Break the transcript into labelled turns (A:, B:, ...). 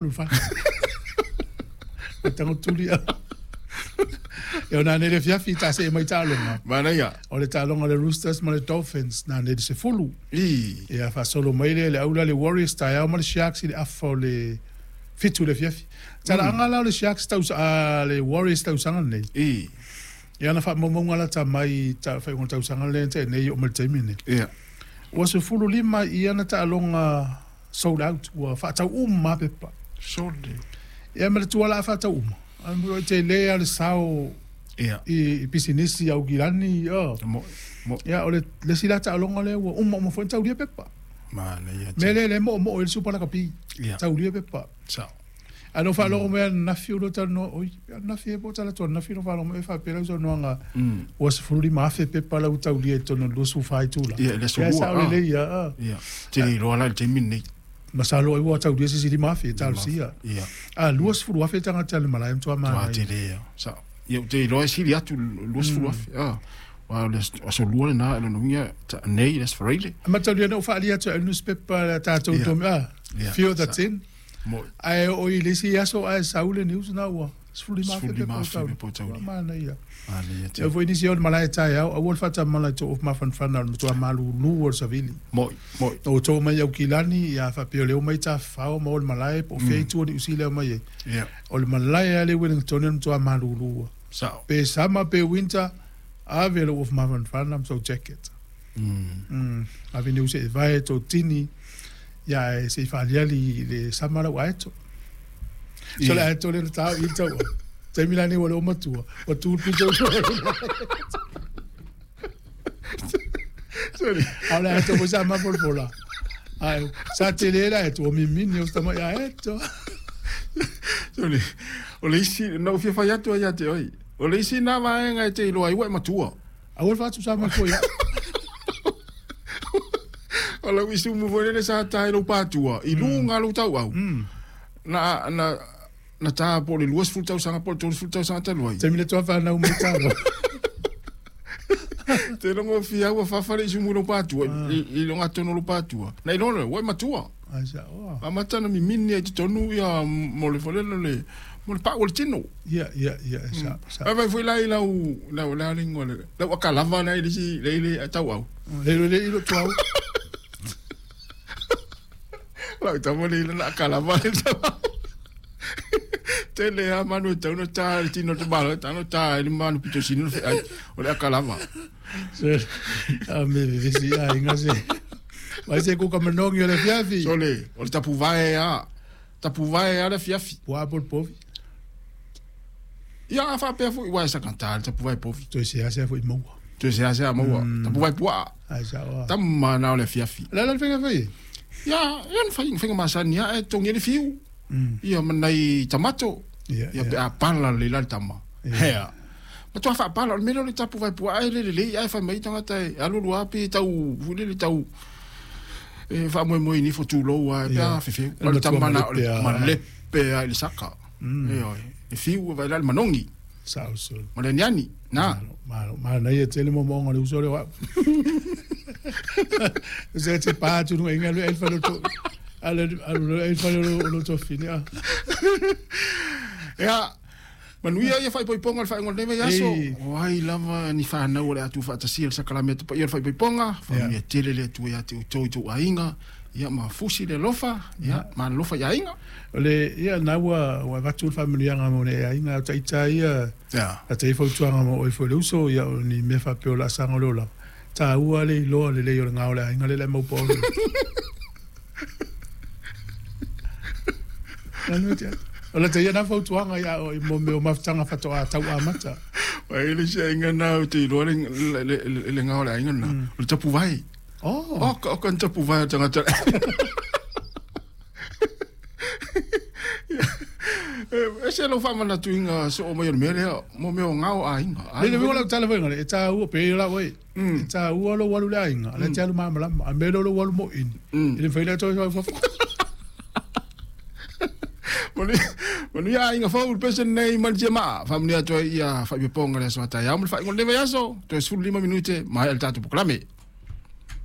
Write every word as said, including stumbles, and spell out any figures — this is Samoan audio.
A: Le fale. O tango tuli a. E ona nei le fiafi ta se mai taaloga.
B: Manaia.
A: O le taaloga le Roosters ma le Dolphins na nei le sefulu.
B: I.
A: Ia faasolo mai lea le aula le Warriors taeao ma le Sharks i le afa o le fitu le fiafi. Talaaga la o le Sharks tausa a le Warriors tausaga lenei.
B: I.
A: Ia na faamaumauga lata mai ta faaiuga o le tausaga lea na tea nei oo mai le taimi lenei.
B: Ia.
A: Ua sefulu lima ia na taaloga sold out ua faatau uma lava pepa.
B: Sole.
A: Ia ma le tuala a faatau uma. Ae tele lava le sao
B: Ia.
A: i pisinisi i Aukilani. Oh.
B: Mo mo
A: Ia o le le isi la taaloga lea ua uma uma foi ona taulia pepa.
B: Manaia.
A: Mea lea lea e moomoo ai le Super Lakapi.
B: Ia.
A: Taulia pepa.
B: Sao.
A: Ae na ou faalogo mai ananafi o lua talanoa, oi, ananafi ea po o talaatu ananafi na ou faalogo mai e faapea lau saunoaga ua sefulu lima afe pepa la ua taulia i totonu o le luasefulu fa itula.
B: Ia, le aso
A: Ia,
B: lua,
A: sao
B: ah.
A: lelei ia, ah.
B: Ia. Te le iloa la i le taimi lenei.
A: Masalo ai ua taulia se isi lima afe e talosia.
B: Ia.
A: A luasefulu afe tagata o le malae matua
B: Tua
A: manaia.
B: tele ia. Sao. Ia, ou te iloa e sili atu luasefulu afe. Ah. Aua o le aso lua lena, e lona uiga ta- nei le aso Faraile.
A: Mataulia na ou faaalia atu ai le newspaper le tatou
B: Ia.
A: tomi, ah,
B: Ia,
A: fewer than
B: sa-
A: ten.
B: Mo
A: Ae oo i le isi aso ae sau le news na ua sefulu lima afe
B: Sefulu
A: pepa
B: lima
A: o
B: afe
A: taulia.
B: pepa o taulia.
A: Ua manaia.
B: Manaia tele.
A: Ia foi nisi o le malae taeao, aua le faatamala i tou mafanafana o le matua malūlū o le savili.
B: Moi, moi.
A: Na outou mai Aukilani, ia faapea o lea ua mai tafafao ma o le malae po o fea itu o Niu Sila e omai ai.
B: Ia.
A: O le malae lava le Wellington o le matua malūlū.
B: Sao.
A: Pe summer pe winter, ave lou ofu mafanafana ma sou jacket.
B: Mm.
A: Mm. Ave niu se i vae tou tini, ia e se i faaliali i le sama lau aeto. So le aeto lea na tao i le taua. Taimi la nei ua le o matua, ua tu le pito.
B: Sorry.
A: A o le aeto foi sa mafolafola. Ae, sa tele le aeto, ua mimini o se tamai aeto.
B: Sorry. O le isi, na ou fia fai atu ai ia te oe. O le isi na vaega e te iloa ai ua e matua.
A: Aua le faatusa mai foi au.
B: O lau isi umu foi lele sa ta i lou patua, i luga lou tauau. Na, na, na ta po o le luasefulu tausaga po o le tolusefulu tausaga talu ai.
A: Taimi le toa whanau mai talo.
B: Te logo fia ua fafa le isi umu i lou patua, i, i loga tonu o lou patua. Na iloa lea, ua e matua.
A: Ai sa, oh.
B: Amata na mimini ai totonu ia mo le folelo le, mo le pau o le tino.
A: Ia, ia, ia, sa, sa.
B: Ai vai foi la i lau, lau, lau lingo le, lau akalava na i le isi, le i le tauau.
A: Le le le ilo tuau.
B: Lau tama le ila na akalava le tauau. Tele a manu e tau na tā le tino te malo, tau na tā e le manu pito sinu le ai, o le akalava.
A: Se, a me vevesi a inga se. Vai se kuka manongi o le fiafi.
B: Sole, o le tapu vae a, tapu vae a le fiafi.
A: Pua po le povi.
B: Ia a whaapea fo i wae sa kanta le tapu vae povi.
A: Toi se ase fo i maua.
B: Toi se ase a maua, tapu vae pua.
A: Ai sa oa.
B: Tama na o le fiafi.
A: La la le whenga whai?
B: Ia, ia na whai, whainga masani a e tongi le fiu. Ia manai tamato.
A: Ia,
B: Ia pe a pala le la le tama. Hea. Ma toa whaapala, o le mea le tapu vae pua, ai le le le, ai whai mai tangata e, alulu api tau, fule le tau, e whaamoemoe ni fo tūlou a, e pea
A: Ia.
B: fefeu.
A: Le
B: O le
A: matua
B: tama na, o le
A: malepe a-
B: malepe a i le saka. E oi, e fiu e vai la le manongi,
A: Sa o so.
B: ma le aniani, na.
A: Malo, malo, na ia tele mo monga le uso le wa. Se te pa tu no inga le elfa lo to. Ale ale elfa lo lo to fini a.
B: Ia, manuia ia whaipoiponga le whaingo le nei aso.
A: Ei.
B: O ai lava ni whanau o le atu whaatasia le sakalame atu pa ia le whaipoiponga. Whanumia tele le atu ia te utou i tō ainga. Ia ma fusi le lofa, ia ma lofa i ainga.
A: O le ia na ua ua vatu le faamanuiaga mo le aiga o taita ia.
B: Ia.
A: A te fautuaga mo oe foi le uso ia o ni mea faapea o laasaga o le olaga. Taua le iloa lelei o le gao o le aiga le le maupaolo. Nanu te atu. O le te ia na fautuaga ia o i mo mea o mafutaga fatoa tau amata.
B: Wai le se ainga na o te iloa le, le, le, le, le ngao le ainga na. O le tapu vai.
A: Oh.
B: O, ka, o ka tapu vai o tangata. E se lau whaamana tuinga so o mai o le mea lea, mo mea o ngao a ainga.
A: Le le wala tala foi ngale e taua pe la oi. E taua lo walu le aiga, le te alu malamalama, a me lo lo walu mo ini.
B: Mm.
A: I le fai le toi fai fafo.
B: Manu manu ia inga fau pese nei mali ma famunia toi ia whaipeponga le aso atai. Au mo le whaingo le aso, toi sefulu lima minute, mai al tatu poklame.